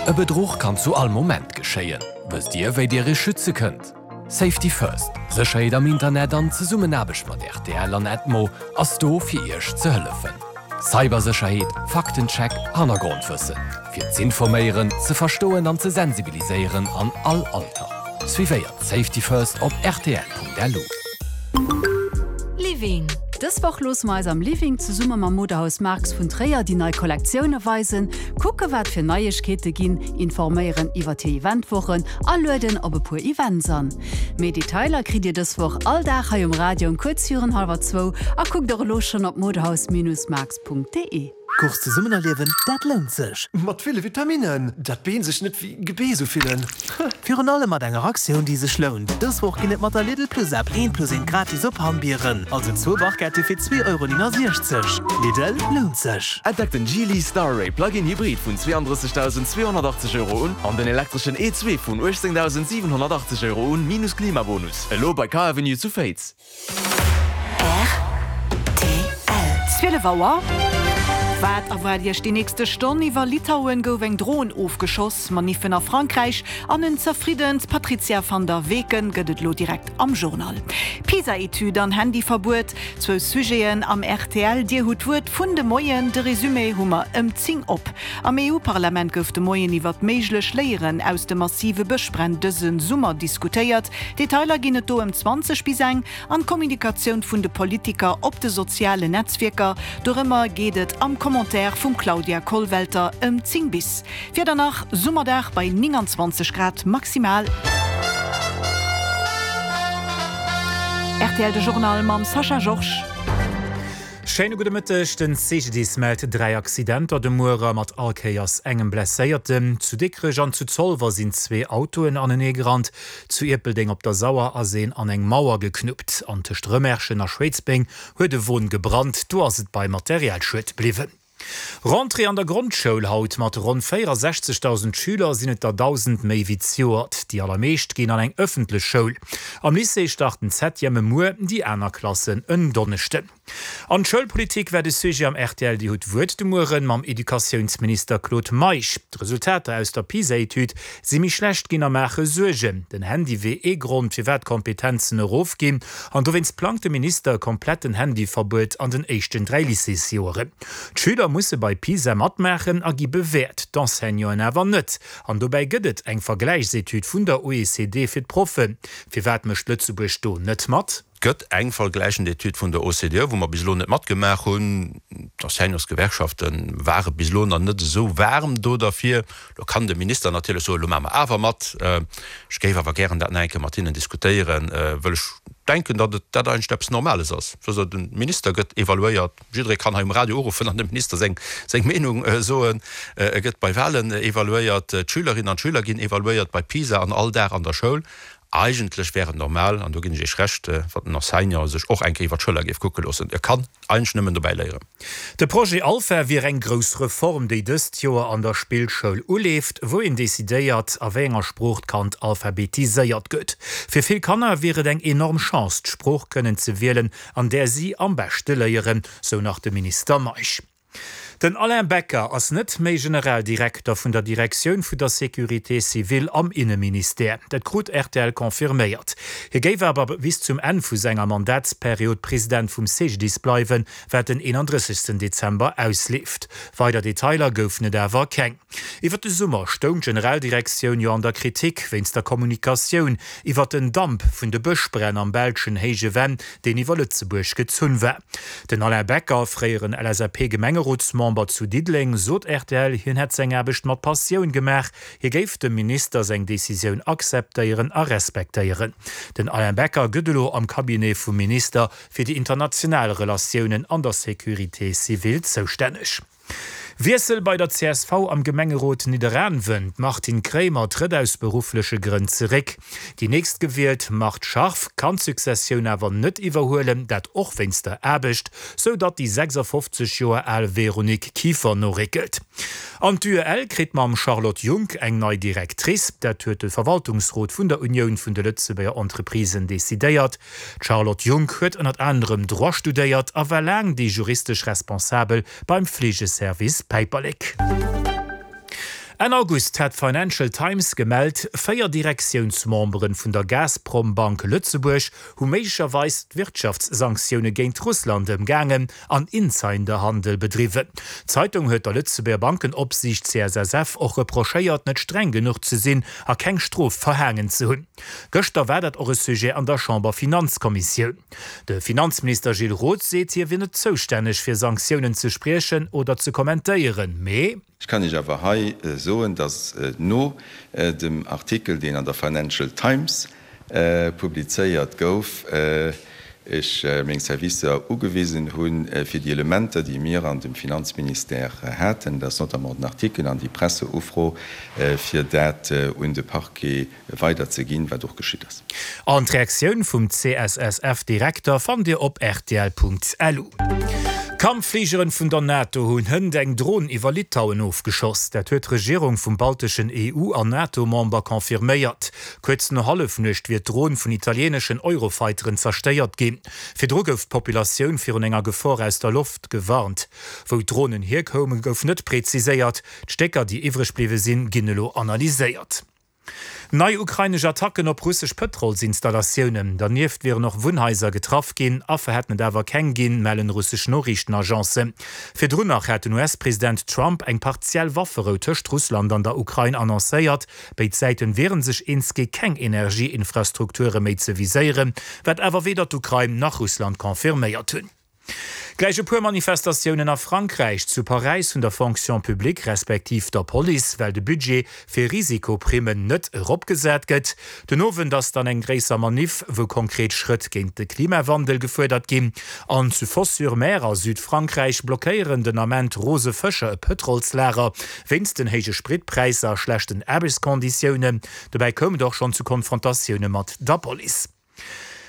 E Bedruch kann zu all Moment geschéien. Wësst Dir, wéi Dir Iech schütze kënnt? Safety First, Sécherheet am Internet an Zesummenaarbecht mat rtl an Edmo ass do fir Iech ze hëllefen. Cybersécherheet, Faktencheck, Hannergrondwëssen, fir z'informéieren, ze verstoen an ze sensibiliséieren an all Alter. Suivéiert Safety First op rtl.lu. Living. Dës Woch loosse mer eis am Living zesumme mam Modehaus Marx vun Tréier déi nei Kollektioune weisen, kucke wat fir Neiegkeete ginn, informéieren iwwert hir Eventwochen a lueden op e puer Events an. Méi Detailer kritt dir dës Woch all Dag hei um Radio um kuerz virun hallwer zwou a kuckt och elo schonn op modehaus-marx.de. Course zesummen erliewen, dat lount sech! Mat ville Vitaminnen, dat d'Been sech net wéi Gebeess ufillen. Virun allem mat enger Aktioun, déi sech lount. Dës Woch ginn et mat der Lidl Plus App eent plus eent gratis op Hammbieren, also zwou Barquette fir 2,69 Euro. Lidl, lount sech! Entdeckt den Geely Starray Plug-in Hybrid vun 32.280 Euro un an den elektreschen E2 vun 18.780 Euro un, minus Klimabonus. Elo bei Car Avenue zu Féiz. Rtl. 12 Auer. Wat erwaart Iech déi nächste Stonn? Iwwer Litauen gouf eng Dron ofgeschoss, Maniffen a Frankräich an en zerfriddent Patrizia van der Weken gëtt et elo direkt am Journal. PISA-Etüd an Handyverbuet, zwou Sujeten am rtl Dir hutt d'Wuert vun de Moien. De Resumé hu mer ëm 10 op. Am EU-Parlament gouf de Moien iwwer méiglech Léieren aus de massive Bëschbränn dëse Summer diskutéiert. Detailer ginn et do ëm 20 bis eng. An d'Kommunikatioun vun de Politiker op de sozialen Netzwierker, dorëmmer geet et am Commentaire vum Claudia Kollwelter ëm 10 bis. Wieder nach, Summerdag bei 29 Grad maximal. Rtl De Journal mam Sascha Georges. Schéine gudde Mëtteg. Den CGDIS mellt 3 Accidenter de Muere mat all Kéiers engem Blesséierten. Zu Dikrech an zu Zolwer sinn zwee Autoen anenee gerannt. Zu Ierpeldeng op der Sauer ass een an eng Mauer geknuppt. An tëscht Rëmerschen a Schwéidsbeng huet e Won gebrannt. Do ass et bei Materialschued bliwwen. Rentrée an der Grondschoul haut. Mat ronn 64.000 Schüler sinn et der 1.000 méi wéi zejoert. Déi allermeescht ginn an eng ëffentlech Schoul. Am Lycée starten d'Septièmen muer, déi aner Klassen en Donneschden. An d'Schoulpolitik war de Sujet am rtl Dir hutt d'Wuert de Mueren mam Educatiounsminister Claude Meisch. D'Resultater aus der PISA-Etüd si méi schlecht ginn a maache Suergen. Den Handy wier ee Grond, firwat d'Kompetenzen erofginn. An dowéinst plangt de Minister e kompletten Handyverbuet an den éischten 3 Lycéesjoeren. D'Schüler musse bei PISA matmaachen a gi bewäert, d'Enseignanten awer net. An dobäi gëtt et eng Vergläichsetüd vun der OECD fir d'Proffen. Firwat mécht Lëtzebuerg do net mat? Et gëtt eng vergläichend Etüd vun der OCDE, wou mer bis elo net matgemaach hunn. D'Enseignantsgewerkschafte ware bis elo nach net esou waarm do derfir. Lo kann de Minister natierlech soen, elo maache mer awer mat. Ech géif awer gären dat nach eng Kéier mat hinnen diskutéieren, wëll ech denken, datt et dat eigentlech eppes Normales ass. Also de Minister gëtt evaluéiert, jidderee kann hei um Radio uruffen an dem Minister seng seng Meenung soen. E gëtt bei Wahlen evaluéiert, d'Schülerinnen an d'Schüler ginn evaluéiert bei PISA an all Dag an der Schoul. Eigentlech wär et normal, an do ginn ech Iech Recht, wann den Enseignant sech och eng Kéier iwwer d'Schëller géif kucke loossen. E kann eigentlech nëmmen dobäi léieren. De Projet Alpha wier eng grouss Reform, déi dëst Joer an der Spillschoul uleeft, wou een decidéiert, a wéi enger Sprooch d'Kand alphabetiséiert gëtt. Fir vill Kanner wier et eng enorm Chance, d'Sprooch kënnen ze wielen, an där si am beschte léieren, sou nach de Minister Meisch. Den Alain Becker ass net méi Generaldirekter vun der Direktioun vun der Sécurité civile am Inneministère. Dat krut rtl confirméiert. Hie géif awer bis zum Enn vu senger Mandatsperiod President vum CGDIS bleiwen, wat den 31 Dezember ausleeft. Weider Detailer goufen et awer keng. Iwwer de Summer stoung d'Generaldirektioun jo an der Kritik wéinst der Kommunikatioun iwwer den Damp vun de Bëschbränn am belschen Héije Venn, deen iwwer Lëtzebuerg gezunn war. Den Alain Becker, fréieren LSAP-Gemengerotsmember zu Diddeleng, sot rtl, hien hätt seng Aarbecht mat Passioun gemaach. Hie géif dem Minister seng Decisioun akzeptéieren a respektéieren. Den Alain Becker gëtt elo am Cabinet vum Minister fir déi international Relatiounen an der Sécurité civile zoustänneg. Wiessel bei der csv am Gemengerot Nidderaanwen, D'Martine Kraemer trëtt aus beruffleche Grënn zeréck. Déi nächstgewielt Marthe Scharff kann d'Successioun awer net iwwerhuelen, dat och wéinst der Aarbecht, sou datt déi 56 Joer al Véronique Kieffer noréckelt. An d'UEL kritt mam Charlotte Junck eng nei Directrice. Dat huet de Verwaltungsrot vun der Unioun vun de Lëtzebuerger Entreprisen decidéiert. D'Charlotte Junck huet ënnert anerem Droit studéiert a war laang déi juristesch Responsabel beim Fleegeservice Päiperlek. Enn August hat d'Financial Times gemellt, 4 Direktiounsmembere vun der Gazprombank Lëtzebuerg hu méiglecherweis d'Wirtschaftssanktioune géint Russland ëmgaangen an Insiderhandel bedriwwen. D'Zeitung huet der Lëtzebuerger Bankenopsiicht CSSF och reprochéiert, net streng genuch ze sinn a keng Strof verhaangen ze hunn. Gëschter war dat och e Sujet an der Chamberfinanzkommissioun. De Finanzminister Gilles Roth seet, hie wier net zoustänneg fir Sanktiounen ze spriechen oder ze kommentéieren, mee. Ech kann Iech awer hei soen, datt no dem Artikel, deen an der Financial Times publizéiert gouf, ech meng Servicer ugewisen hunn, fir déi Elementer, déi mir an dem Finanzministère haten, dat ass notamment den Artikel an déi Presseufro, fir dat un de Parquet weider ze ginn, wat och geschitt ass. An d'Reaktioun vum CSSF-Direkter fannt Dir op rtl.lu. Kampffligeren vun der NATO hunn hënt eng Dron iwwer Litauen ofgeschoss. Dat huet d'Regierung vum balteschen EU an NATO-Member confirméiert. Kuerz no Hallefnuecht wier d'Dron vun italieeneschen Eurofighteren zerstéiert ginn. Virdru gouf d'Populatioun virun enger Gefor aus der Loft gewarnt. Wou d'Dronen hierkoumen, gouf net preziséiert. D'Stécker, déi iwwreg bliwwe sinn, ginn elo analyséiert. Nei ukrainesch Attacken op russesch Pëtrolsinstallatiounen. Dernieft wieren och Wunnhaiser getraff ginn. Affer hätten et awer keng ginn, mellen russesch Noriichtenagencen. Virdrun nach hat den US-President Trump eng partiell Wafferou tëscht Russland an der Ukrain annoncéiert. Béid Säiten wiere sech eens gi keng Energieinfrastrukture méi ze viséieren, wat awer weder d'Ukrain nach Russland confirméiert hunn. Gläich e puer Manifestatiounen a Frankräich, zu Paräis vun der Fonction publique respektiv der Police, well de Budget fir Risikoprimmen net eropgesat gëtt. Den Owend ass dann eng gréisser Maniff, wou konkret Schrëtt géint de Klimawandel gefuerdert ginn. An zu Fos-sur-Mer a Südfrankräich blockéieren den Ament rose Fëscher e Pëtrolslager wéinst den héije Spritpräisser a schlechten Aarbechtskonditiounen. Dobäi koum et och schonn zu Konfrontatioune mat der Police.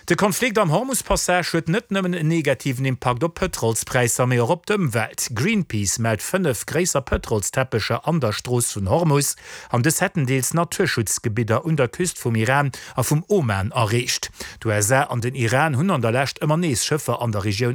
De Konflikt am Hormus-Passage huet net nëmmen en negativen Impakt op d'Pëtrolspräisser, mee och op d'Ëmwelt. Greenpeace mellt 5 gréisser Pëtrolsteppecher an der Strooss vun Hormus, an dës hätten deels Naturschutzgebidder un der Küst vum Iran a vum Oman erreecht. D'USA an den Iran hunn an der Lescht ëmmer nees Schëffer an der Regioun.